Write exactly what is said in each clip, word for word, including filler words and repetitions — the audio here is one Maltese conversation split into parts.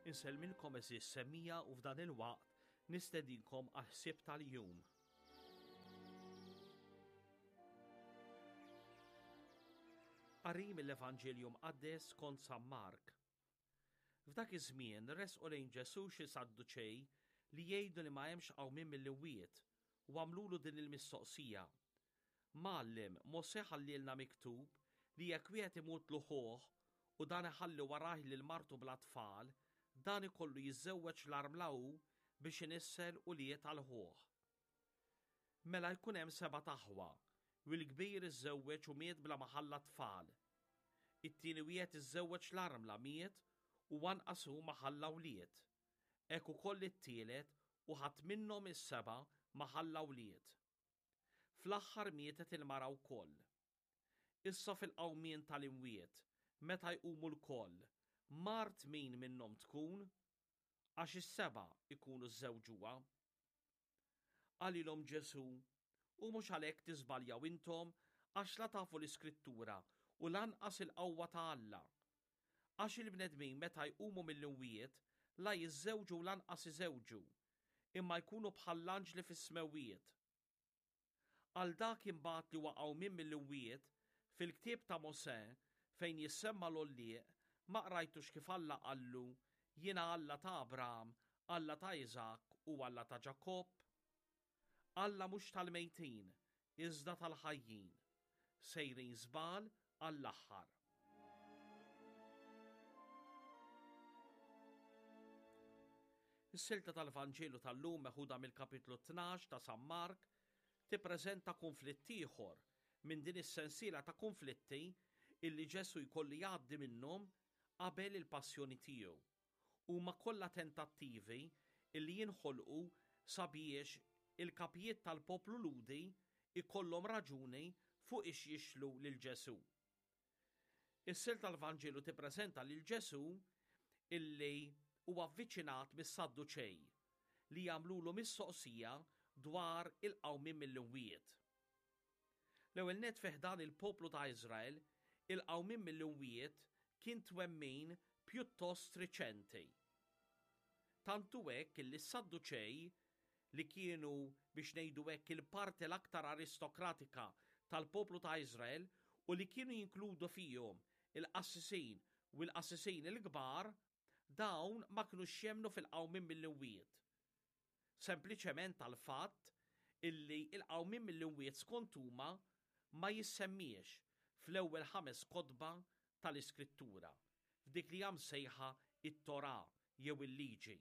Insellmilkom għeżież semmiegħa u f'dan il-waqt nistedinkom għal ħsieb tal-jum. Qari mill-Evanġelju Mqaddes skont San Mark. F'dak iż-żmien resqu lejn Ġesù xi Sadduċej li jgħidu li ma hemmx qawmien mill-imwiet u għamlulu din il-mistoqsija. Mgħallem, Mosè ħallielna miktub li jekk wieħed imut ħuh u dan iħalli warajh lil martu bla tfal, dan ikollu jiżżewweġ l-armla hu biex inissel ulied għal ħuh. Mela jkun hemm seba' aħwa, u l-kbir iżżewweġ u miet bla ma ħalla tfal. It-tieni wieħed iżżewweġ l-armla miet u anqas hu ma ħalla wlied. Hekk ukoll it-tielet u ħadd minnhom is-seba' ma ħalla wlied. Fl-aħħar mietet il-mara wkoll. Issa fil-qawmien tal-imwiet, meta jqumu lkoll, mart min minnhom tkun? Għax is-seba' ikunu żżewġuha. Qalilhom Ġesù, u mhux għalhekk tiżbaljaw intom għax la tafu l-Iskrittura u lanqas il-qawwa ta' Alla. Għax il-bnedmin meta jqumu mill-imwiet la jiżżewġu u lanqas iżewġu, imma jkunu bħall-anġli fis-smewwiet. Għal dak imbagħad li huwa qawmien mill-imwiet, fil-ktieb ta' Mosè fejn jissemma l-għollieq, ma qrajtux kif Alla qallu, jiena Alla ta' Abraham, Alla ta' Iżakk u Alla ta' Ġakobb? Alla mhux tal-mejtin, iżda tal-ħajjin. Sejrin żball għall-aħħar. Is-silta tal-Vanġelu tal-lum meħuda mill-kapitlu tnax ta' San Mark tippreżenta konflitt ieħor minn din is-sensiela ta' konflitti illi Ġesù jkollu jgħaddi minnhom qabel il-passjoni tiegħu. Huma kollha tentattivi illi jinħolqu sabiex il-kapijiet tal-poplu Lhudi ikollhom raġuni fuq ix jixlu lil Ġesù. Is-silta tal-Vanġelu tippreżenta lil Ġesù illi huwa avviċinat mis-Sadduċej li jagħmlulu mistoqsija dwar il-qawmien mill-imwiet. L-ewwel nett fi ħdan il-poplu ta' Iżrael, il-qawmien mill-imwiet kien twemmin pjuttost riċenti. Tantu hekk illi s-Sadduċej, li kienu biex ngħidu hekk il-parti l-aktar aristokratika tal-poplu ta' Iżrael u li kienu jinkludu fihom il-qassisin u l-qassisin il-kbar, dawn ma kinux jemmnu fil-qawmien mill-imwiet. Sempliċement tal-fatt illi il-qawmien mill-imwiet skont huma ma jissemmiex fl-ewwel ħames kotba tal-Iskrittura, f'dik li hija msejħa it-Torah jew il-Liġi.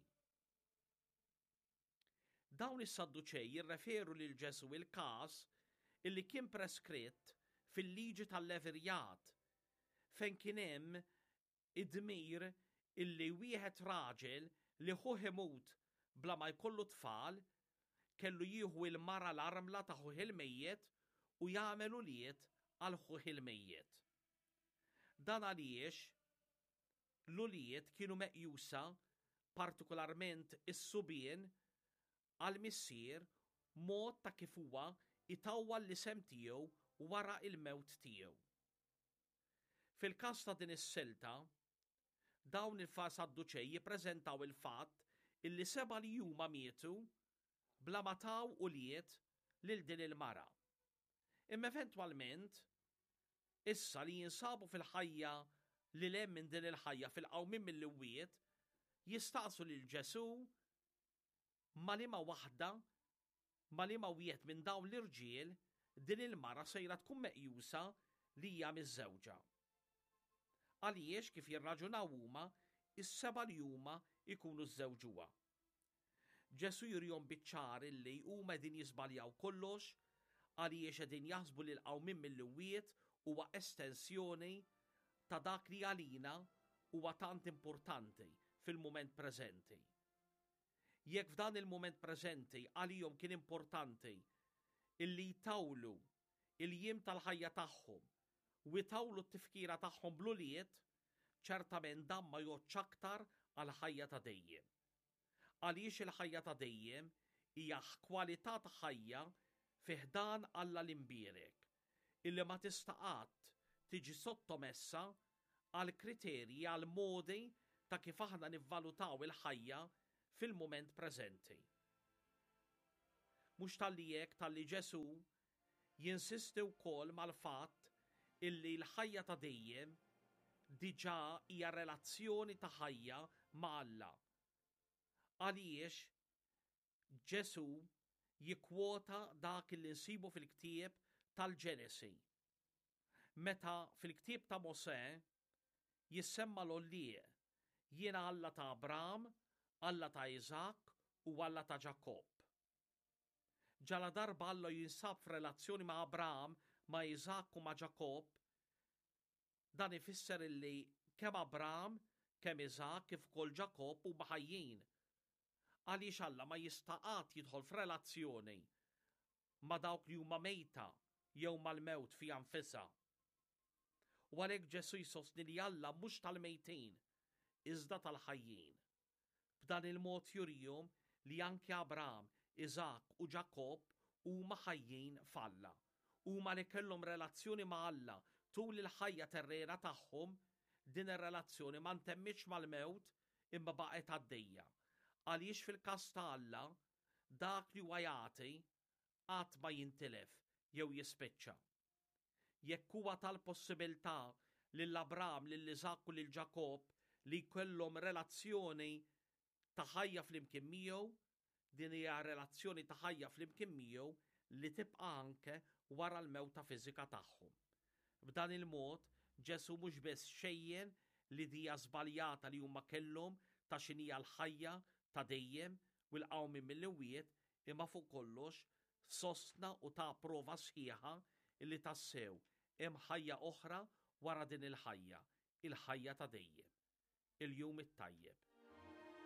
Dawn is-Sadduċej jirreferu lil Ġesù il-każ illi kien preskritt fil-liġi tal-Levirjat, fejn kien hemm id-dmir illi wieħed raġel li ħuh imut bla ma jkollu tfal kellu jieħu il-mara l-armla ta' ħuh il-mejjet u jagħmel ulied għal ħuh il-mejjet. Dan għaliex l-ulied kienu meqjusa, partikolarment is-subien, għal missier mod ta' kif huwa itawwal l-isem tiegħu wara il-mewt tiegħu. Fil-każ ta' din is-silta, dawn il-Sadduċej jippreżentaw il-fatt illi seba' li huma mietu bla ma taw ulied lil din il-mara. Imma eventwalment, issa li jinsabu fil-ħajja li lem minn din il-ħajja fil-qawmien mill-imwiet, jistaqsu lil Ġesù ma liema waħda, ma liema wieħed minn dawn l-irġiel din il-mara sejra tkun meqjusa li hija miżżewġa. Għaliex kif jirraġunaw huma, is-seba' li huma jkunu żżewġuha. Ġesù jurihom biċ-ċar illi huma qegħdin jiżbaljaw kollox għaliex qegħdin jaħsbu li l-qawmien mill-imwiet huwa estensjoni ta' dak li għalina huwa tant importanti fil-mument preżenti. Jekk f'dan il-mument preżenti għalihom kien importanti illi jtawlu il-jiem tal-ħajja tagħhom u jtawlu t-tifkira tagħhom bl-ulied, ċertament dan ma jgħoddx aktar għal-ħajja ta' dejjem. Għaliex il-ħajja ta' dejjem hija kwalità ta' ħajja fi ħdan Alla l-imbierek, illi ma tista' qatt tiġi sottomessa għal kriterji, għal modi ta' kif aħna nivvalutaw il-ħajja fil-mument preżenti. Mhux talli hekk, talli Ġesù jinsisti wkoll mal-fatt illi l-ħajja ta' dejjem diġà hija relazzjoni ta' ħajja ma' Alla. Għaliex Ġesù jikkwota dak li nsibu fil-ktieb tal-Ġenesi. Meta fil-ktieb ta' Mosè jissemma l-għollieq, jiena Alla ta' Abram, Alla ta' Iżakk u Alla ta' Ġakobb. Ġala darba Alla jinsab f'relazzjoni ma' Abram, ma' Iżakk u ma' Ġakobb, dan ifisser illi kemm Abram, kemm Iżakk kif ukoll Ġakobb huma ħajjin. Għaliex Alla ma jista' qatt jidħol f'relazzjoni ma' dawk li huma mejta jew mal-mewt fiha nfisha. U għalhekk Ġesù jsostni li Alla mhux tal-mejtin, iżda tal-ħajjin. B'dan il-mod jurihom li anke Abram, Iżakk u Ġakobb huma ħajjin f'Alla. Huma li kellhom relazzjoni ma' Alla tul il-ħajja terrena tagħhom, din ir-relazzjoni ma ntemmitx mal-mewt imma baqgħet għaddejja. Għaliex fil-każ ta' Alla, dak li huwa jagħti qatt ma jintilef jew jispiċċa. Jekk huwa tal-possibilità lil Abram, lil Iżakk u lil Ġakobb li jkollhom relazzjoni ta' ħajja flimkien miegħu, din hija relazzjoni ta' ħajja flimkien miegħu li tibqa' anke wara l-mewta fiżika tagħhom. B'dan il-mod, Ġesù mhux biss xejjen l-idea żbaljata li huma kellhom ta' x'inhija l-ħajja ta' dejjem u l-qawmien mill-imwiet, imma fuq kollox sostna u ta' prova sħiħa illi tassew hemm ħajja oħra wara din il-ħajja, il-ħajja ta' dejjem. Il-jum it-tajjeb.